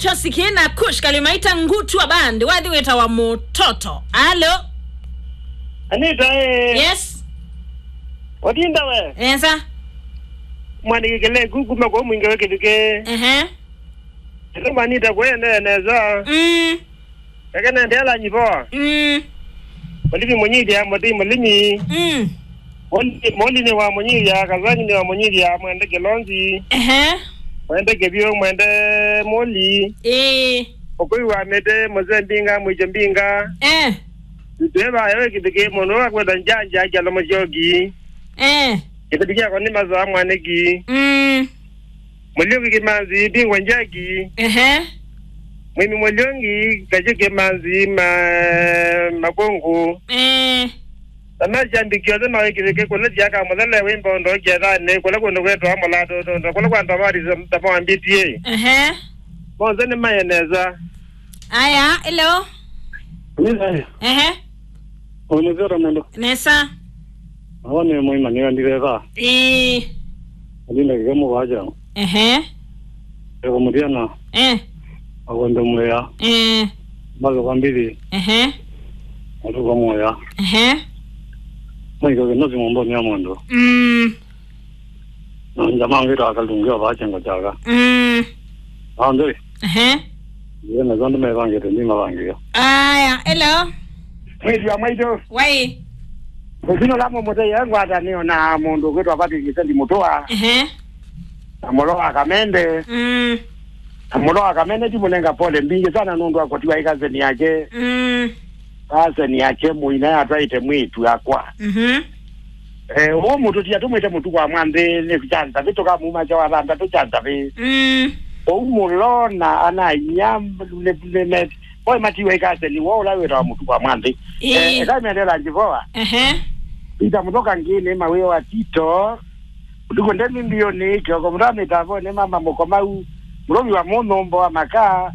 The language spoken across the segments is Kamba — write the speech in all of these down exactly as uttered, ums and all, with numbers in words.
Tosi kina Kush Kalimaita Ngutwa Band, wathi wĩtawa Mũtoto. Alo? Anita, eh. Yes. Watinda we? Esa. Mwaniki kele kuku mako mwingi we kĩthukĩ. Ehe. Ĩno Anita kwende neza. Mm. Eke nende ala nyivoa. Mm. Mũlimi mũnyithia, mũtĩ mũlimi. Mm. Moli, Moli nĩ wa mũnyithia, Kazangi nĩ wa mũnyithia, mwende Kĩlonzi. Ehe. Mwende Kĩvyũ, mwende Moli. Ĩĩ. Ũkũi wa mĩtĩ, mũze mbinga, mwĩcho mbinga. Eh. Tweva ewe kĩthukĩ mũndũ wa kwenda njanja, kyalo mũsyoki. Eh. Kĩthukĩ kyakwa nĩ mazoa mwanĩki. Mm. Mũlyoki Kĩmanzi, mbingwa njaki. Ehe. Mwĩmi Mũlyoki, Kachĩ Kĩmanzi, ma, makũngũ. Eh. Na masyambiki onthe mawĩkĩthĩke kũla thiaka mũthele wĩ mbondo kĩethanĩ, kũla kũndũ kwĩtwa mũlato, kũla kwa ndavati tamawambitie. Ehe. Monthe nĩ maye nesa. Aya, hello. Nĩ thayũ. Ehe. Ũnĩthera mũndũ. Nesa. Awa nĩ mũima nĩ anditheta. Ĩĩ. Alinda kĩkemo vaja. Ehe. Eko mũtiana. Eh. Akondo mwea. Eh. Mbazo kwa mbili. Ehe. Atuka mwea. Ehe. Mwaiko kinosi mombo ni amondo. Mm. Na njama ngita akalungia vaja ngo jaga. Mm. Ande. Ehe. Yena zondo me vange te ni mavange. Aya, hello. Mwezi wa mwaito. Wai. Kusino lamo mote yangu hata niyo na mundu kwitwa Patrick Kisendi Mutua. Ehe. Na Mũlo wa Kamende. Mm. Na Mũlo wa Kamende ndimũnenga pole mbingĩ sana nũndũ wa kũtiwa ĩkaseni yake. Mm. Kaseni yake mũina yatwaĩte mwĩtu akwa. Mhm. Eh, ũũ mũtũtia tũmwĩte mũtuku wa mwanthĩ nĩ kyanza vĩ tũkamuma kya wa thanthatũ kyanza vĩ. Mm. Ũu Mũlona ana inya nĩ, nĩ, nĩ, oĩ matiwa ĩkaseni wo ũla wĩtawa mũtuku wa mwanthĩ. Ĩĩ. Eh, eka mĩendela Njivoa. Ehe. Ita mũthoka ngĩnĩ mawĩo wa Tito. Ũtukũ ndemi mbionĩ, kĩoko mũtwa mĩtavonĩ mama mũkomau, mũlovi wa mũnyũmbo wa makaa,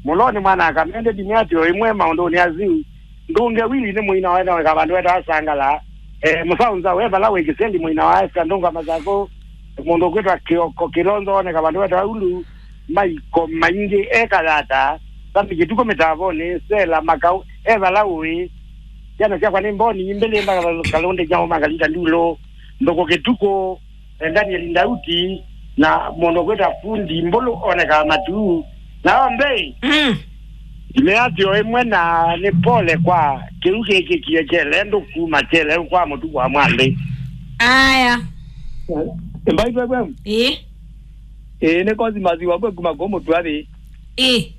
mũlonĩ mwana akamende ndimĩ atĩ o ĩmwe maũndũnĩ asu. Ndũnge Wili nĩ mũina wa ĩno weka vandũ wetawa Sangala. Eh, mũsaũnza we vala wĩ Kĩsendi mũina wa Esther Ndũnga Masakũ, mũndũ ũkwĩtwa Kĩoko Kĩlonzo woneka vandũ wetawa Ulu, maiko maingĩ ekayata, Sami Kĩtukũ mĩtavonĩ, Sela Makau, e vala ũĩ. Syana syakwa nĩ mboni, imbĩlĩ mbakalũndĩ nyao makalita ndulũ, ndũkũ Kĩtukũ, eh, Daniel Ndauti, na mũndũ kwĩta fundi Mbũlũ onekaa matu. Na onthe, mm, imeatyo ĩmwe na nĩ pole kwa kĩu kĩkĩkie kyele ndũkuma kyele kwa mũtuku wa mwanthĩ. Aya. Mbaitwe kwem? Ĩĩ. Ĩĩ, nĩ kosi masiwa kwe kuma kũ mũtwathi. Ĩĩ.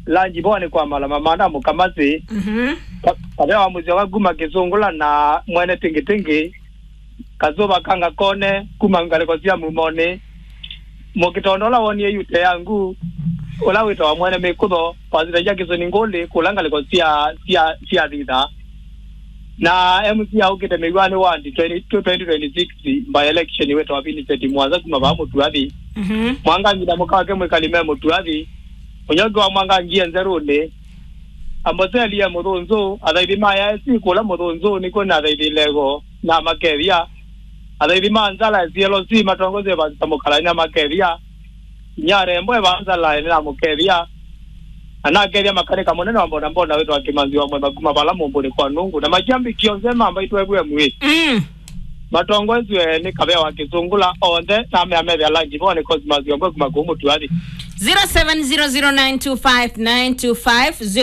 Lanji boa nĩ kwa malama mana mũkamasi. Mhm. Ka-, kavea wa mũsyoka kuma Kĩsũngũla na mwene Tingitĩngĩ. Kasũva ka Ngakone kuma ngalĩko sya Mumonĩ. Mũkĩtondo ũla wonie yute ya ngu, ũla wĩtawa mwene mĩkũtho, pasita Jackson Ngũlĩ, kũla ngalĩko sya, sya, sya Thitha. Na M C aũkĩte mĩw'anĩ wa twenty, twenty twenty-six by election wĩtawa Vincent Mwanza kuma vaa Mũtuathi. Mhm. Mwangangi na mũka wake mwĩkali me Mũtuathi. Ũnyoki wa Mwangangi e nzerũnĩ. Amboseli e Mũthũnzũ, athaithi ma A I C kũla Mũthũnzũ nĩkw'o na athaithi Lego na Makethia. Athaithi ma Nzala C L C matongozwe Pastor Mũkalani na Makethia. Nyarembo e va Nzala ene na Mũkethia. Anakethia makanĩka mũnene wa mbonambona wĩtawa Kĩmanzi wa Mwemba kuma vala mũmbũnĩ kwa Nũngũ. Na makyambĩkĩa onthe mambaitwe F M ĩ. Mm. Matongoeswe nĩ Kavea wa Kĩsũngũla onthe na mea methea lanji voo nĩ Cosmas Yombwe kuma kũu Mũtuathi. Zero seven zero zero nine two five nine two five.